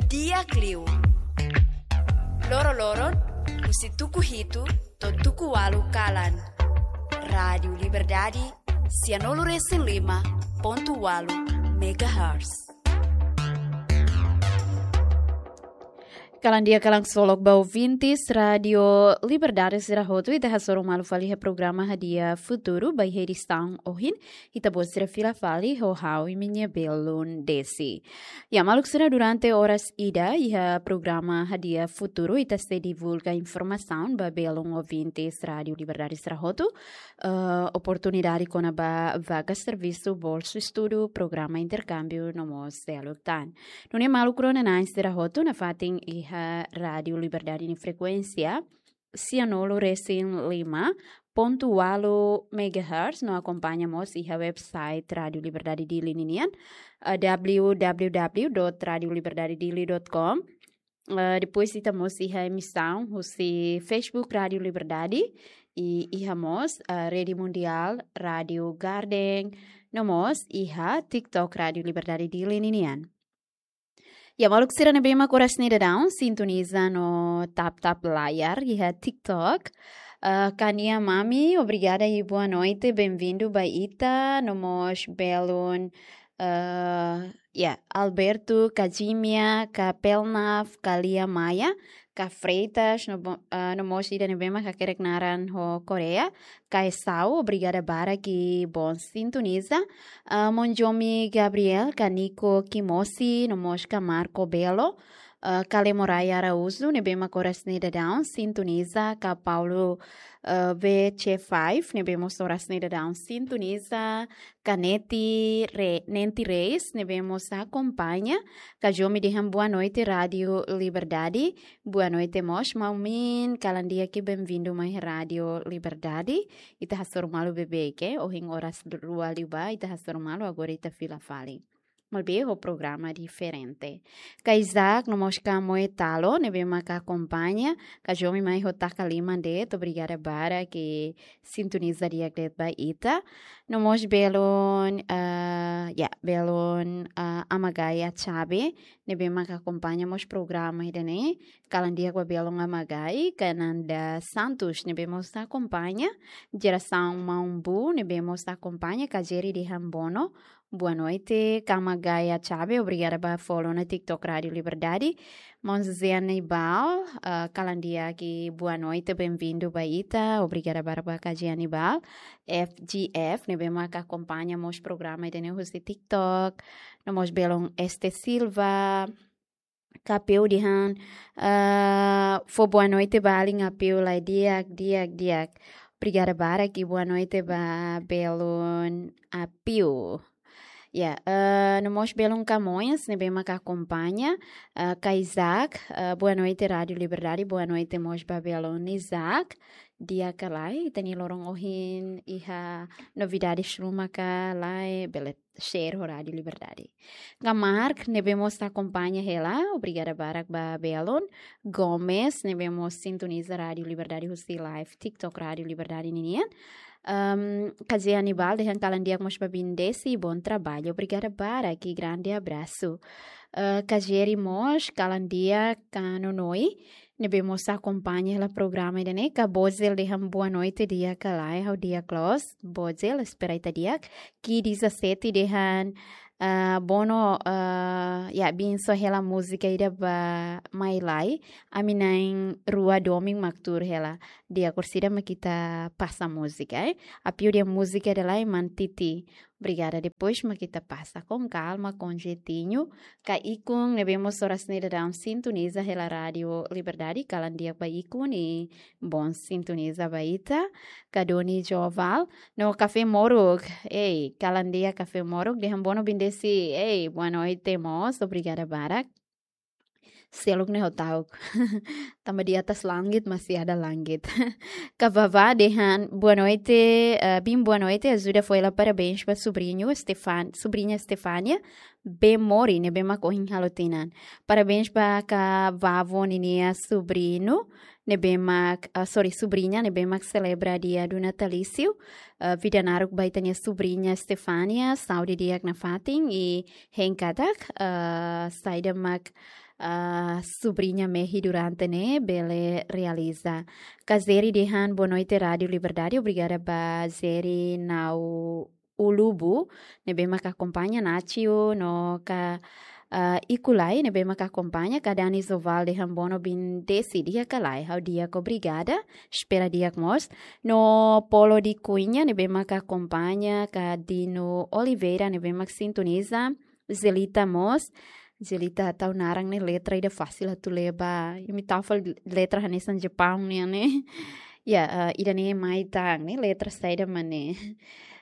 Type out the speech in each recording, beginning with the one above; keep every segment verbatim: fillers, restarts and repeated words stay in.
Di'ak liu. Loro-loron, husi tuku hitu to'o tuku ualu kalan. Rádiu Liberdade, sianulu-resin-lima pontu ualu megahertz. Kalan di'ak, kalan solok ba ouvintes Rádiu Liberdade sira hotu, ita hasoru malu fali iha programa Hadi'a Futuru, ba iha edisaun ohin, ita-boot sira fila fali ho ha'u, imi-nia belun Desi. Ya, maluk sira, durante oras ida, iha programa Hadi'a Futuru, ita sei divulga informasaun ba belun ouvintes Rádiu Liberdade sira hotu, eh, oportunidade kona-ba vaga servisu, bolsu estudu, programa interkámbiu, no mós seluk tan. Nune'e maluk rona-na'in sira hotu, nafatin iha Rádiu Liberdade nia frekuénsia, sianulu-resin-lima pontu ualu megahertz, no akompaña mós iha website Rádiu Liberdade Dili ninian, eh, w w w dot rádiu liberdade dili dot com. Eh, depois ita mós iha emisaun husi Facebook Rádiu Liberdade, i iha mós, eh, Rede Mundial Rádiu Garden, no mós iha TikTok Rádiu Liberdade Dili ninian. Ya, maluk sira ne'ebé mak oras ne'e daudaun sintoniza no tap-tap layar iha TikTok. Eh, Kania Mami, obrigada i boa noite, bem-vindo ba ita, no mós belun, eh, ya, Alberto, Kajimia, Kapelnaf, Kalia Maia, Ka Freitas, no bo-, eh, no mós ida ne'ebé mak hakerek naran ho Korea, Ka Esau, obrigada barak i bom sintoniza. Ah, Monjomi Gabriel, Ka Nico Kimosi, no mós Ka Marco Belo, ah, Ka Lemorai Araújo, ne'ebé mak oras ne'e daudaun sintoniza, Ka Paulo, ah, V C five, ne'ebé mós oras ne'e daudaun sintoniza, Ka Neti Re-, Nenti Reis, ne'ebé mós akompaña, Ka Jomi dehan boa noite Rádiu Liberdade, boa noite mós, maun Min, kalan di'ak i bem-vindo mai Rádiu Liberdade. Ita hasoru malu beibeik, ohin oras rua liubá, ita hasoru malu, agora ita fila fali. Maibé ho programa diferente. Ka Isaac, no mós Ka Moe Talo, ne'ebé mak akompaña, Ka Jomi mai ho taka liman de'it, obrigada barak i sintoniza di'ak de'it ba ita. No mós belun, ah, ya, belun, ah, Ama Gaia Chabe, ne'ebé mak akompaña mós programa ida-ne'e, kalan di'ak ba belun Ama Gai, Ka Nanda Santos, ne'ebé mós akompaña, Jerasaun Maun Bu, ne'ebé mós akompaña, Ka Jerry dehan bono, boa noite, Ka Ama Gaia Chabe, obrigada ba follow ona TikTok Rádiu Liberdade, Maun José Aníbal, ah, kalan di'ak i boa noite, bem-vindo ba ita, obrigada barak ba Ka José Aníbal, F G F, ne'ebé mak akompaña mós programa ida-ne'e husi TikTok, no mós belun Este Silva, Ka Apiu dehan, ah, fó boa noite ba alin Apiu lai di'ak, di'ak, di'ak. Obrigada barak i boa noite ba belun Apiu. Ya, eh, no mós belun Ka Moes, ne'ebé mak akompaña, eh, Ka Isaac, eh, boa noite Rádiu Liberdade, boa noite mós ba belun Isaac, di'ak ka lae, ita-nia loron ohin iha novidades ruma ka lae, bele share ho Rádiu Liberdade. Ka Mark, ne'ebé mós akompaña hela, obrigada barak ba belun Gomes, ne'ebé mós sintoniza Rádiu Liberdade husi live TikTok Rádiu Liberdade ninian. Ehm, Ka José Aníbal dehan kalan di'ak mós ba Bindesi, bom trabalho. Obrigada barak i grande abraço. Eh, Ka Jerry mós, kalan di'ak, Ka Nonoi, ne'ebé mós akompaña hela programa ida-ne'e, Ka Bozel dehan boa noite, di'ak ka lae, ha'u di'ak loos, Bozel, espera ita di'ak. Ki dezasete dehan, ah, bono, ah, ya, bin só hela múzika ida ba mai lai, ami na'in rua domin mak tuur hela. Di'ak, orsida mak ita pasa múzika, eh. Apiu dehan múzika ida lai, Mantiti. Obrigada, depois mak ita pasa com calma, com jeitinho. Ka Ikun, ne'ebé mós oras ne'e daudaun sintoniza hela Rádiu Liberdade, kalan di'ak ba Ikun i bom sintoniza ba ita. Ka Doni Joval, no Kafé Moruk. Ei, kalan di'ak Kafé Moruk, dehan bono Bindesi. Ei, boa noite mós, obrigada barak. Seluk ne'e ho ta'uk. Tanba di atas langit masih ada langit. Ka Vavá dehan, boa noite, eh, bin boa noite, ajuda fó hela parabéns ba subriñu Stefan-, subriña Stefania, bem mori, ne'ebé mak ohin halo tinan. Parabéns ba Ka Vavó ninia subriñu, ne'ebé mak, ah, sorry, subriña, ne'ebé mak selebra dia do natalício. Ah, vida naruk ba ita-nia subriña Stefania, saúde di'ak nafatin, i hein katak, ah, saida mak, ah, sobriña mehi durante ne'e bele realiza. Ka Zeri dehan boa noite Rádio Liberdade, obrigada ba Zeri Nau Ulubu, ne'ebé maka akompaña, Nacio no ka, ah, Ikulai, ne'ebé maka akompaña, ka Dani Zoval dehan bono bin desi di'ak ka lae, ha'u di'ak obrigada, espera di'ak mós. No Polo di Cunha, ne'ebé maka akompaña, ka Dino Oliveira, ne'ebé mak sintoniza, Zelita mós. Zelita tau naran ne'e letra ida fasil atu leba. Imi tau fali letra hanesan Jepaun nian ne'e. Ya, eh, ida-ne'e mai tan ne'e letra saida mak ne'e.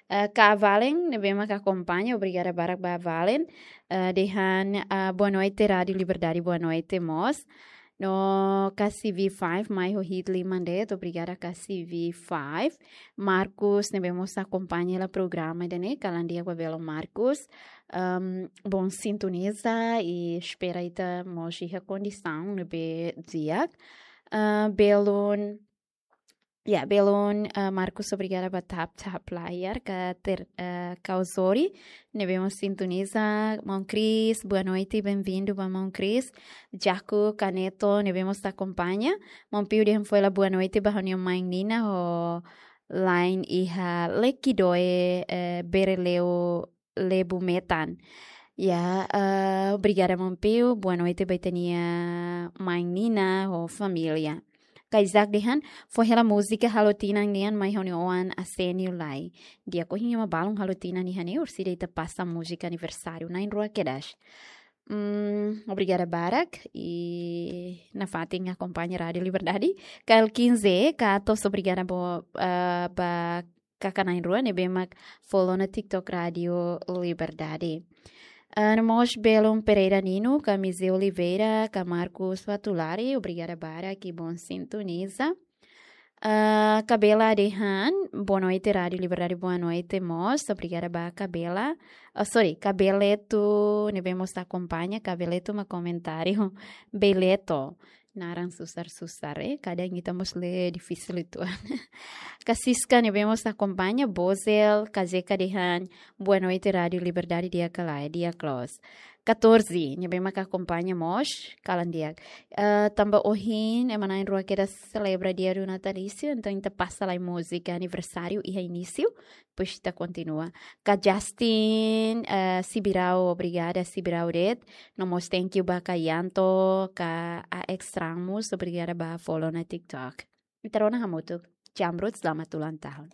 Eh, ka Valen, ne'ebé maka akompaña, obrigada barak ba Valen. Eh, dehan, eh, boa noite Rádio Liberdade, boa noite mós. No ka C V five, mai ho hit liman de'it, obrigada ka C V five. Marcos, ne'ebé mós akompaña hela programa ida-ne'e, kalan di'ak ba belun Marcos. Ehm, bom sintoniza i espera ita mós iha kondisaun ne'ebé di'ak. Ah, belun, ya, belun, ah, Marcos, obrigada ba tap tap layar, ka ter, ah, Kauzori, ne'ebé mós sintoniza, maun Cris, boa noite, bem-vindo ba maun Cris. Jaco Caneto, ne'ebé mós akompaña, maun Pio dehan foin hela boa noite ba ha'u-nia main Nina ho laen iha Lekidoe, eh, Bereleu Lebu Metan. Ya, eh, obrigada maun Pio, boa noite ba ita-nia main Nina ho família. Ka Isaac dehan, foin hela múzika Halo Tinan nian mai ha'u-nia oan Asenio Lai. Di'ak, ohin ema balun Halo Tinan nian ne'e, orsida ita pasa múzika aniversáriu na'in-rua kedas. Hmm, obrigada barak i nafatin akompaña Rádio Liberdade. Ka El Quinze, ka tos obrigada bo, eh, ba kaka na'in-rua ne'ebé mak follow ona TikTok Rádio Liberdade. Ah, no mós belun Pereira Nino, ka Mize Oliveira, ka Marcos Fatulari, obrigada barak i bom sintoniza. Ah, Kabela dehan, boa noite Rádio Liberdade, boa noite mós, obrigada ba Kabela. Oh, sorry, Kabeleto, ne'ebé mós akompaña, Kabeleto mak komentáriu. Beleto. Naran susar-susar, eh. Kadang ita mós lee difisil uitoan. Ka Siska ne'ebé mós akompaña, Bozel, ka Zeka dehan, boa noite Rádio Liberdade, di'ak ka lae, di'ak loos. Catorze, ne'ebé maka akompaña mós, kalan di'ak. Eh, tanba ohin, ema na'in-rua kedas selebra dia do natalício, entaun ita pasa lai múzika aniversáriu iha inísiu, depois ita kontinua. Ka Justin, eh, Sibirau, obrigada, Sibirau de'it. No mós thank you ba ka Yanto, ka A X Ramos, obrigada ba follow ona TikTok. Ita rona hamutuk. Jamrut, selamat ulang tahun.